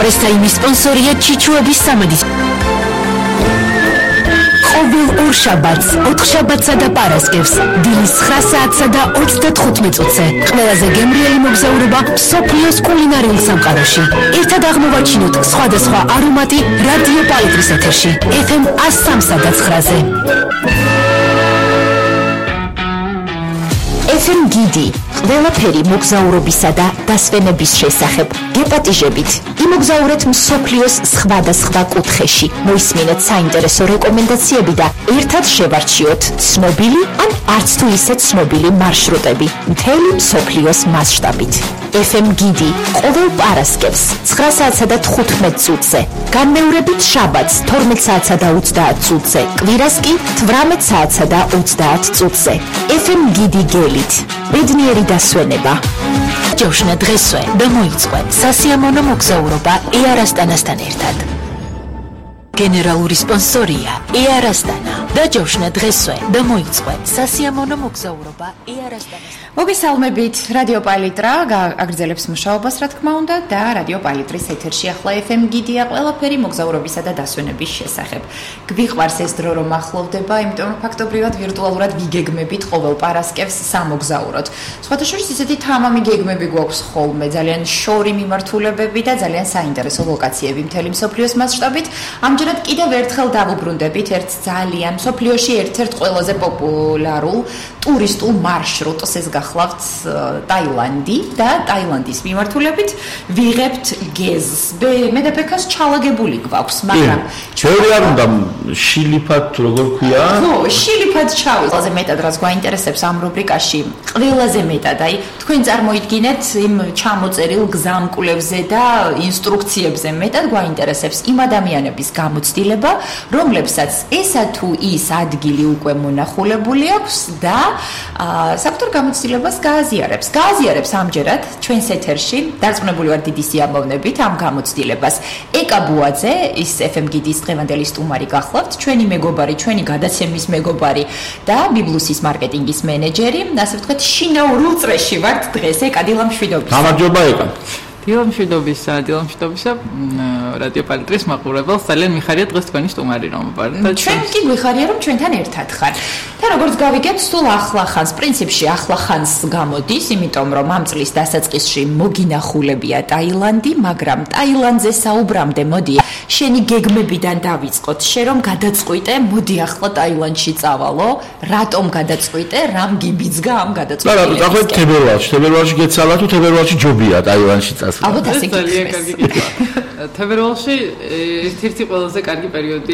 დღესაიმის სპონსორია ჩიჩუების სამადის. ყოველ ორ შაბათს, 4 შაბათსა და პარასკევს, დილის 9 საათსა და 35 წუთზე, ყველაზე გემრიელი მოგზაურობა მსოფლიოს კულინარიულ სამყაროში. ერთად აღმოვაჩინოთ სხვადასხვა არომატი რადიო პალიტრის ეთერში, FM 103 და 9-ზე. FM გიდი, ყველაფერი მოგზაურობისა და დასვენების შესახებ. გეპატიჟებით, იმოგზაურეთ მსოფლიოს სხვადასხვა კუთხეში, მოისმინეთ საინტერესო რეკომენდაციები და ერთად შევარჩიოთ ცნობილი ან არც თუ ისე ცნობილი მარშრუტები მთელი მსოფლიოს მასშტაბით. FM გიდი, ყოველ პარასკევს 9 საათსა და 15 წუთზე, განმეორებით შაბათს 12 საათსა და 30 წუთზე, კვირას კი 18 საათსა და 30 წუთზე. FM გიდი გელით, ბედნიერი დასვენება. ჯოშნა დღესვე და მოიწყო სასიამოვნო მოგზაურობა ეარასტანასთან ერთად. გენერალური სპონსორია ეარასტანა და ჯოშნა დღესვე და მოიწყო სასიამოვნო მოგზაურობა ეარასტანასთან. მოგესალმებით, რადიო პალიტრა აგრძელებს მუშაობას, რა თქმა უნდა, და რადიო პალიტრის ეთერში ახლა FM გიდია ყველაფერი მოგზაურობისა და დასვენების შესახებ. გვიყვარს ეს დრო რომ ახლოვდება, იმიტომ რომ ფაქტობრივად ვირტუალურად ვიგეგმებით ყოველ პარასკევს სამოგზაუროდ. სხვათა შორის ისეთი თამამი გეგმები გვაქვს ხოლმე, ძალიან შორი მიმართულებები და ძალიან საინტერესო ლოკაციები მთელი მსოფლიოს მასშტაბით. ამჯერად კიდევ ერთხელ დავუბრუნდებით ერთ ძალიან მსოფლიოში ერთ-ერთ ყველაზე პოპულარულ ტურისტულ მარშრუტს, ეს გახლავთ ტაილანდი და ტაილანდის მიმართულებით ვიღებთ გეზს. მე და ბექას ჩალაგებული გვაქვს, მაგრამ ჩვენი არ უნდა შილიფად როგორ ქვია? ხო, შილიფად ჩავი. ყველაზე მეტად რაც გვაინტერესებს ამ რუბრიკაში, ყველაზე მეტად, აი, თქვენ წარმოიდგინეთ იმ ჩამოწერილ გზამკვლებზე და ინსტრუქციებზე მეტად გვაინტერესებს იმ ადამიანების გამოცდილება, რომლებსაც ესა თუ ის ადგილი უკვე მონახულებული აქვს და საკუთარ გამოცდილებას გააზიარებს ამჯერად ჩვენს ეთერში. დარწმუნებული ვარ დიდი სიამოვნებით ამ გამოცდილებას. ეკა ბუაძე, ის FM გიდის დღევანდელი სტუმარი გახლავთ, ჩვენი მეგობარი, ჩვენი გადაცემის მეგობარი და ბიბლუსის მარკეტინგის მენეჯერი, ასე ვთქვათ, შინაურ უწრეში ვართ დღეს. ეკა, დილამშვიდობისა. გამარჯობა ეკა. დილამშვიდობისა რადიო პალიტრის მაყურებელს, ძალიან მიხარია დღეს თქვენი სტუმარი რომ ვარ. ჩვენ კი გვიხარია რომ ჩვენთან ერთად ხარ. და როგორც გავიგეთ, სულ ახლახანს, პრინციპში ახლახანს გამოდის, იმიტომ რომ ამ წლის დასაწყისში მოგინახულებია ტაილანდი, მაგრამ ტაილანდზე საუბრამდე მოდი შენი გეგმებიდან დავიწყოთ. შენ რომ გადაწყვიტე, მოდი ახლა ტაილანდში წავალო, რატომ გადაწყვიტე, რამ გიბიძგა ამ გადაწყვეტილებისკენ? და ახლა თებერვალში გეცალა თუ თებერვალში ჯობია ტაილანდში წასვლა? ალბათ ასე ძალიან კარგი კითხვა. თებერვალში ერთ-ერთი ყველაზე კარგი პერიოდი